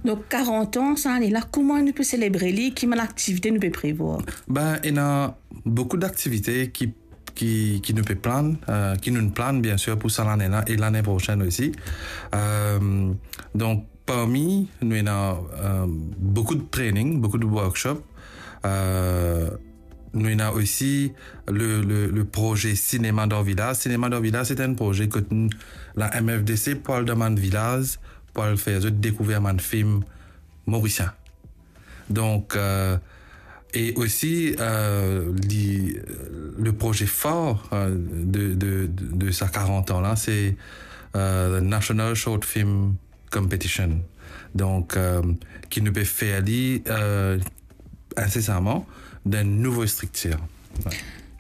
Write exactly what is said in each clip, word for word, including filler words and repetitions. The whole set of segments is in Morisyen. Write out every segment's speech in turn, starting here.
Donk, karant an, sa lane la, kouma nou pe selebre li, ki bann aktivite nou pe prevwar? Ben, ena boukou daktivite ki, ki, ki nou pe plan, euh, ki nou plan, bien sûr, pou sa lane la e lane prosenn osi. Euh, donk, parmi, nou ena, euh, boukou de training, boukou de workshop. Euh, nou ena osi le, le, le proze Sinema dan Vilaz. Sinema dan Vilaz, se enn proze kot n-, la M F D C pou al dan bann vilaz, pou al fer zot dekouver bann fim morisien. Donk, euh, e osi, euh, li, le proze far, euh, de, de, de, de sa karant an la, se, euh, National Short Film Competition. Donk, euh, ki nou pe fer li, euh, insesaman, dan enn nouvo striktir.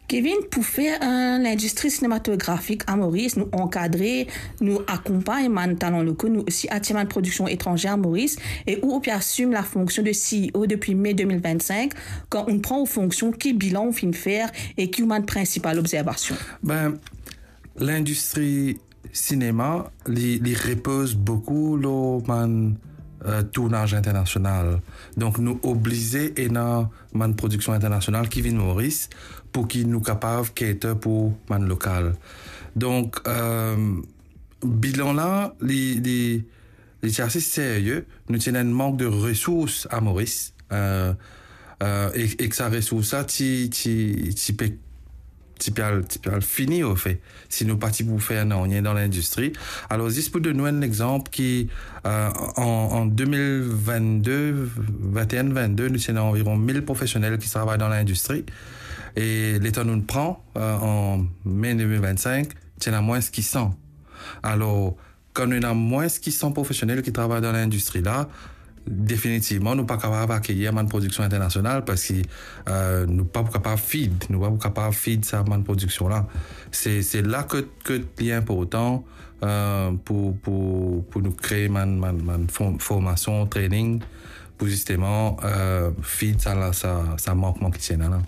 Kevin, pou fer, euh, lindistri sinematografik a Moris, nou ankadre, nou akonpagn bann talan loko, nou osi atir bann prodiksion etranze a Moris, e ou, ou pe asim la fonksion de C E O depi me de mil vinn-sink, kan ou pran ou fonksion, ki bilan ou finn fer e ki ou bann prinsipal obzervasion? Ben, lindistri sinema, li, li repoz boukou lor bann, euh, tournaz internasional. Donk, nou oblize ena bann prodiksion internasional ki vinn Moris pou ki nou kapav cater pou bann lokal. Donk, euh, bilan la, li, li, li ti ase serye. Nou ti ena enn mank de resours a Moris. Euh, euh, e, e ki sa resours la ti, ti, ti pe ti pe al, ti pe al fini, anfet, si nou pa ti pou fer nanye dan lindistri. Alor, zis pou donn ou enn lexanp ki, euh, an, an de mil vinn-de, vinn-e-enn vinn-de, nou ti ena anviron mil profesionel ki travay dan lindistri. E letan nou pran, euh, an me de mil vinn-sink, ti ena mwins ki san. Alor, kan nou ena mwins ki san profesionel ki travay dan lindistri la, definitivman, nou pa kapav akeyir bann prodiksion internasional, parski, euh, nou pa pou kapav feed, nou pa pou kapav feed sa bann prodiksion la. Se, se la kot, kot li inportan, euh, pou, pou, pou nou kree bann, bann, bann fo-, formasion, training, pou zisteman, euh, feed sa la, sa, sa mankman ki ti ena la.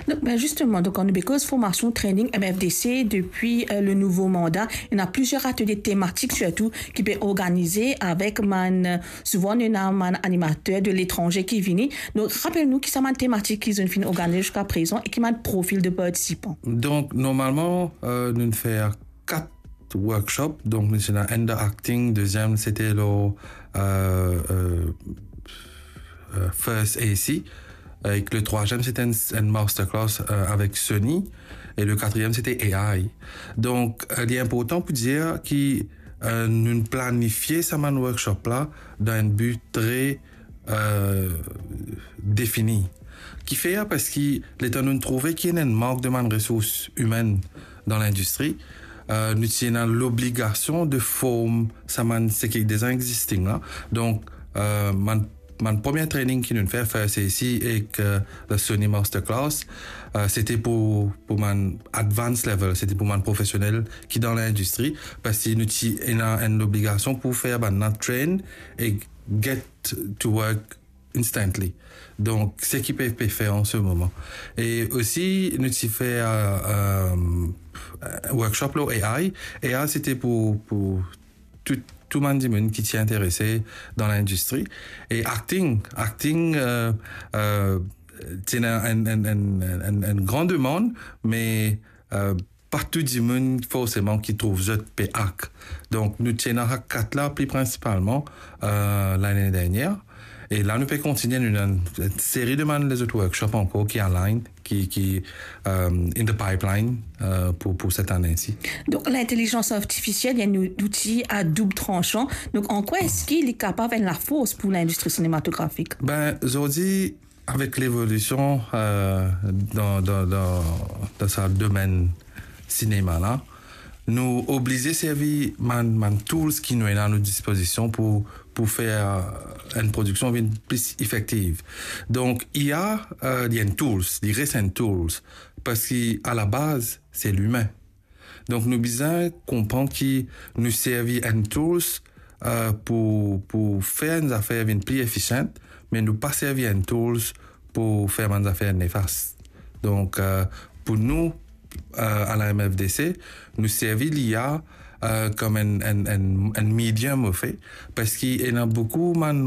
Donk, ben, zisteman, donk, kan nou pe koz formasion, training, M F D C, depi, euh, le nouvo manda, ena plizier atelie tematik, sirtou, ki pe organize avek bann, euh, souvan nou ena bann animater de letranze ki vini. Donk, rapel nou ki sa bann tematik ki zot finn organize ziska prezan e ki bann profil de partisipan. Donk, normalman, euh, nou fer kat workshop. Donk, nou ti ena enn dan acting, deziem, sete lor, euh, euh, euh, First A C. Ek le trwaziem, sete enn, enn masterclass, euh, avek Sony. E le katriem, sete A I. Donk, euh, li inportan pou dir ki, euh, nou planifie sa bann workshop la dan enn bi tre, euh, defini. Kifer? Parski letan nou trouve ki ena enn mank de bann resours imenn dan lindistri, euh, nou ti ena lobligasion de form sa bann seki deza existing la. Donk, euh, bann, bann premie training ki nou fer, fer se isi ek, euh, le Sony Masterclass, euh, sete pou, pou bann advanced level, sete pou bann profesionel ki dan lindistri, parski nou ti ena enn lobligasion pou fer bann la train e get to work instantly. Donk, seki pe, pe fer an se moman. E osi, nou ti fer, euh, euh, workshop lor A I. A I, sete pou, pou tou, tou bann dimoun ki ti interese dan lindistri. E acting, acting, euh, euh, ti ena enn, enn, enn, enn, enn gran demann, me, euh, pa tou dimoun forseman ki trouv zot pe act. Donk, nou ti ena sa kat la pli prinsipalman, euh, lane dernier. E la, nou pe kontinie, nou ena enn seri de bann lezot workshop ankor ki align, ki, ki, euh, in the pipeline, euh, pou, pou set ane isi. Donk, lintelizans artifisiel, li enn zouti a doub transan. Donk, an kwa eski li kapav enn lafors pou lindistri sinematografik? Ben, zordi, avek levolision, euh, dan, dan, dan, dan sa domenn sinema la, nou oblize servi bann, bann tools ki nou ena a nou dispozision pou, pou fer, euh, enn prodiksion vinn pli efektiv. Donk, I A, euh, li enn tools, li res enn tools, parski a la baz, se limin. Donk, nou bizin konpran ki nou servi enn tools, euh, pou, pou fer enn zafer vinn pli efisien, me nou pa servi enn tools pou fer bann zafer nefas. Donk, euh, pou nou, euh, a la M F D C, nou servi l'I A, euh, kom enn, enn, enn, enn medium, anfet, parski ena boukou bann,